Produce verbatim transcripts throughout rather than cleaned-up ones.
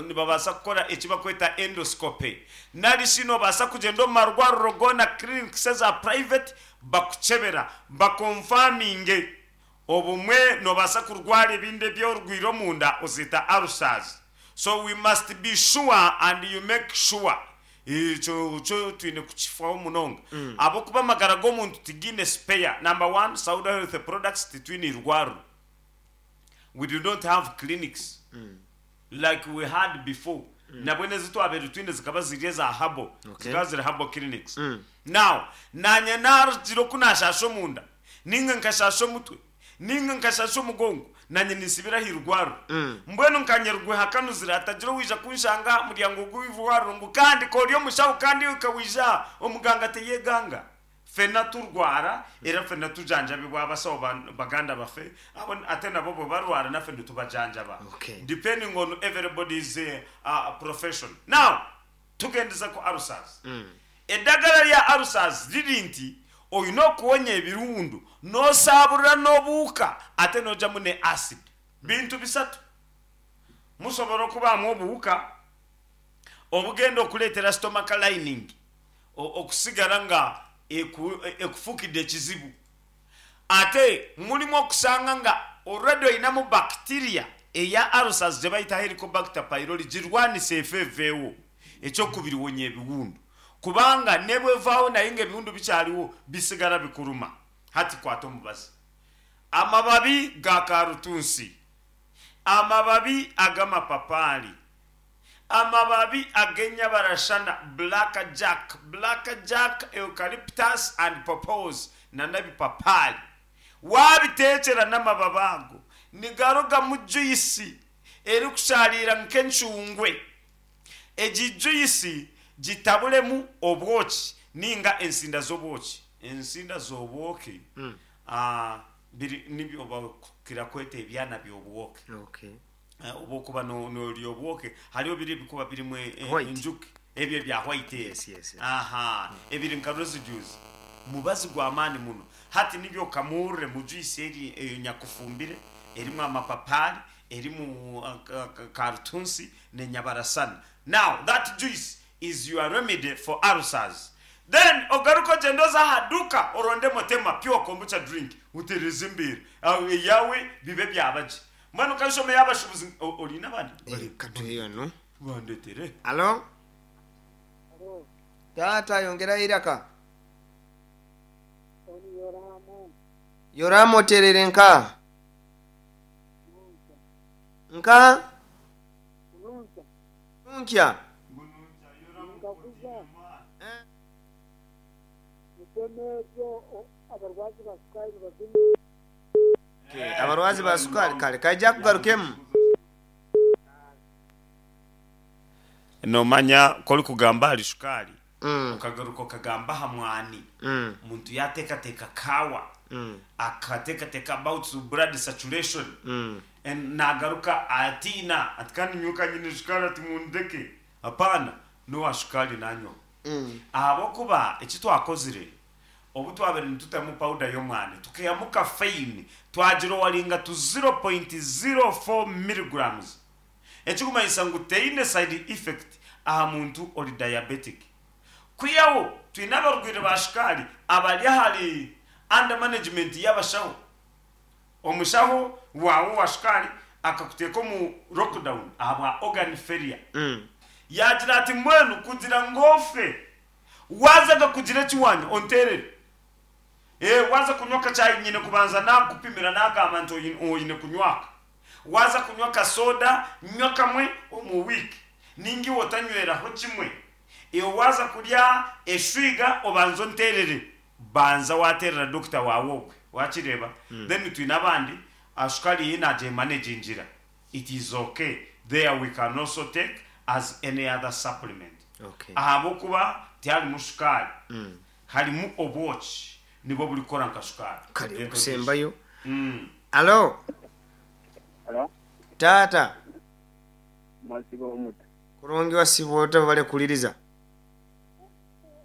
Nibabaasa kukora eki barikweta endoscopy, nari shi noobaasa kugyenda omu marwariro goona, clinics eza private, bakukyebera bakonfaminge. Obumwe noobaasa kurwara ebindi ebi orwaire omunda ozeeta ulcers. So we must be sure and you make sure. Ekyo kyo twine kukifaho munonga ahabw'okuba amagara g'omuntu tigaine spare. Number one, Sauda Health Products titwine irwariro. We do not have clinics like we had before. Nabwo n'ezi twabaire twine zikaba ziri eza herbal, Okay. zikaba ziri herbal clinics. Now, naanye naagira oku naashaasha omunda, nainga nkashaasha omutwe, nainga nkashaasha omugongo, naanye ninsibira aha irwariro. Mbwenu nkanye rwehakanuzire hatagira owaija kunshanga aha muryango gw'eirwariro ngu kandi ka ori omushaho kandi okawija aha, omuganga teyeganga. Ffena turwara era ffena tujanjabibwa abasawo baganda baffe abo ate nabo bwe barwara naffe nitubajanjaba Okay. depending on everybody's uh, profession. Now, tugendeza ku ulcers. Eddagala lya ulcers riri nti oine okuwonya ebirundu n'osaaburura n'obuhuka ate n'ojamu ne acid. Bintu bisatu. Musobora okubaamu obuhuka obugenda okuleetera stomach lining o- okusigara nga eku- ekufukidde ekizibu. Ate mulimu okusanga nga already oinamu bacteria eya ulcers gye bayita Helicobacter pylori, girwanise efe eveewo. Ekyokubiri, wonya ebiwundu, kubanga nebwevaawo naye nga ebiwundu bikyariwo, bisigara bikuruma. Hati kwata omubazi, amababi ga karutunsi, amababi ag'amapapaari, amababi ag'enyabarashana, black jack, black jack, eucalyptus and pawpaws, n'ebipapaari, wabiteekyera n'amababi ago nigarugamu juice erikusharira nk'encungwe. Egi juice gitaburemu obwoki ninga ensinda z'obwoki. Ensinda z'obwoki ah, biri nibyo bakira kweta ebyana by'obwoki. Okay. Eh, obwokuba no- norya obwoki hariho biri ebikuba birimu e- e- White. enjuki, ebyo ebya white ebyo. Yes, yes, yes. Aha, ebiri nka residues, mubazi gw'amaani muno. Hati nibyo okamurre mu juice eri eyo nyakufumbire erimu amapapaari, erimu uh, ka- ka- karutunsi n'enyabarasana. Now that juice is your remedy for ulcers. Then ogaruka ogyenda oza aha duka oronde Motema Pure Kombucha drink, utereze embeera aho eyawe bibe byabagye. Mbwenu kashome y'abashubuzi o- oriine abandi? Eh, katuheyo no. Bandetere. Alo, taata, yongerayo iraka. Yoramu oterere nka nka nkya. Nkakuza mutemeezo abarwazi ba sukari bazimu. Okay, abarwazi ba sukari kale kaija kugarukemu. Nomanya korikugamba ahari shukaari, Mm, okagaruka okagamba aha mwani, mm, omuntu yateekateeka kaawa, mm, akateekateeka about blood saturation, mm. and nagaruka atiina ati kandi nyowe nyine shukaari, ati mundeke. Hapana, n'owa shukaari nanywa, Mm. ahabw'okuba eki twakozire obu twabere nitutamu powder y'omwani, tukihamu caffeine, twagira owaringa tu zero point zero four milligrams, ekikumanyisa ngu teine side effect aha muntu ori diabetic. Kwihaho twine abarwaire ba shukaari abari ahari under management y'abashaho. Omushaho waawe wa shukaari akakuteeka omu lockdown ahabwa organ failure, Mm. yagira ati mbwenu kugira ngu ofe, wazaga kugira ekiwanya onterere. Eh, waza kunywa akacyayi nyine kubanza nakupimira, nagamba nti oyi- oyine kunywaka. Waza kunywa kasoda, nywa kamwe omu wiiki, ninga iwe otanyweraho kimwe. Iwe waza kurya eshwiga, obanza onterere, banza waterera dokita wawe ogwe wakireba. Then twine abandi ashukari ye nagyemanagingira, it is okay. There we can also take as any other supplement, Okay. ahabwokuba tiharimu shukaari, Mm. harimu obwoki, nibwo burikukora nka shukaari. Kale okusembayo. Mm. Alo. Alo, Taata. mwasiba omuto. Kurungi, wasiba ota? Bale kuliriza.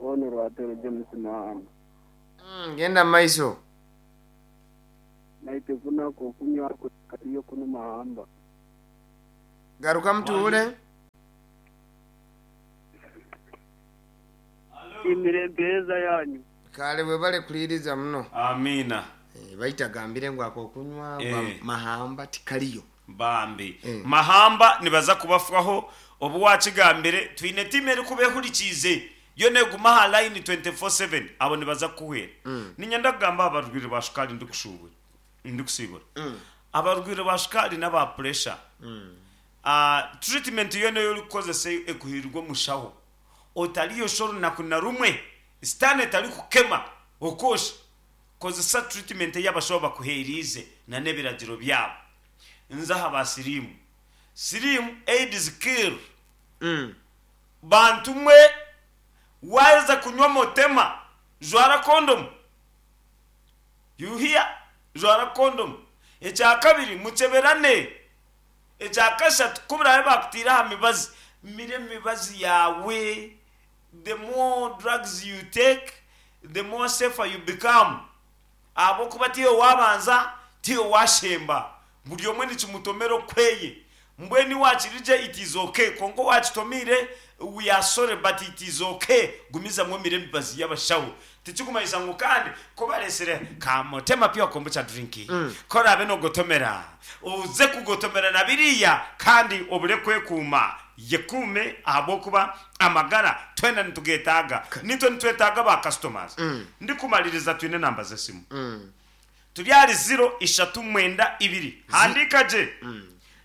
Ono Rwatero James Mahamba. Mm, genda maiso. Naite kunako okunywako kaliyo kuno Mahamba. Garuka mutuule. Mbasiimire empeereza yanyu. Kale bwe bale kuliriza muno. Amiina. Eh, baitagambire ngu akokunywa Eh. gwa mahamba tikaliyo. Bambi. Eh. Mahamba nibaza kubafaho obu wakigambire twine timu erikuba ehurikiize yo neguma aha line twenty-four seven, abo nibaza kukuhwera. Ninyenda kugamba abarwire ba shukaari, ndikushubura ndikusibura abarwire ba shukaari n'aba pressure, Ah, treatment yo niyo orikukozesa ekuhirirwa omushaho. Otariyosha orunaku na rumwe, sitaane etarikukema okosha. Kozesa treatment ey'abashaho bakuheriize na n'ebiragiro byabo. Nze aha ba siriimu, siriimu, AIDS kill. Mm. Bantu mwe, waza kunywa motema, jwara condom. You hear? Jwara condom. Ekya kabiri, mukeberane. Ekya kashatu, kuburabe bakutiire aha mibazi, mire emibazi yawe. The more drugs you take, the more safer you become, ahabwokuba tiyo wabanza, tiyo washemba, buri omwe nikimutomera okweye. Mbwenu wakirije, it is okay, konka wakitomire, we are sorry, but it is okay. Gumizamu omire emibazi y'abashaho. Tikikumanyisa ngu kandi kubaresire kamotema pure kombucha drink mm. Korabe nogotomera, uze kugotomera na biriya kandi obure kwekuuma. Yekuume, ahabwokuba amagara twena nitugetaaga, nitwe nitwetaaga ba customers. mm. Ndikumaliriza, twine namba z'esimu. Mm. Turi ahari zero ishatu mwenda ibiri, handika gye,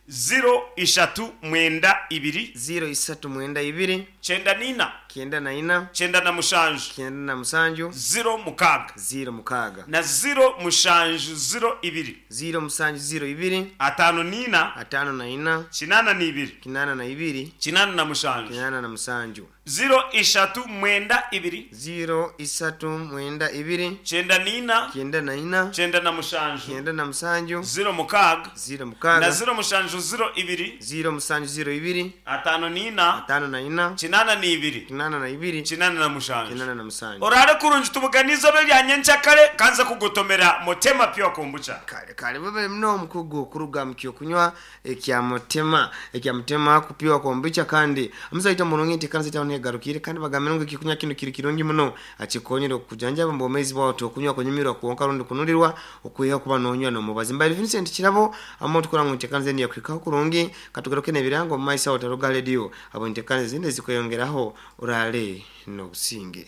zero ishatu mwenda ibiri, ziro isatu mwenda ibiri, cyenda n'ina, kyenda na ina, cyenda na mushanju, kyenda na musanju, zero mukaaga, ziro mukaaga, na zero mushanju zero ibiri, ziro musanju ziro ibiri, atano n'ina, atano na ina, kinana n'ibiri, kinana na ibiri, kinana na mushanju, kinana na musanju. Zero ishatu mwenda ibiri, ziro isatu mwenda ibiri, cyenda n'ina, kyenda na ina, cyenda na mushanju, kyenda na musanju, zero mukaaga, ziro na mukaaga, zero mushanju zero ibiri, ziro musanju ziro ibiri, atano n'ina, atano na ina, kinana n'ibiri, kinana na ibiri, kinana na mushanju. kinana na musanju. Orare kurungi, tubuganiza obe ryanyenkyakare kanza kugotomera motema pure kombucha. Kale kale, bebe muno omukugu okuruga mu kyokunywa ekya mutema ekya mutema kupiwa kombucha. Kandi omusaita murungi nti kanisa tawo negarukire kandi bagambire ngu ekyokunywa kino kiri kirungi muno, akikonyere okujanjaba mu bwomezi bwawe. Tokunywa kunyumirwa kwonka rundi kunulirwa, okwiha kuba nonywa nomubazi. Mbaire Vincent Kirabo amo tukora ngu ntekanze niyo kwikaho kurungi. Katugaruke n'ebirango mu maiso aho. Taruga radio abo ntekanze zindi zikweyongeraho. Orale n'obusinge.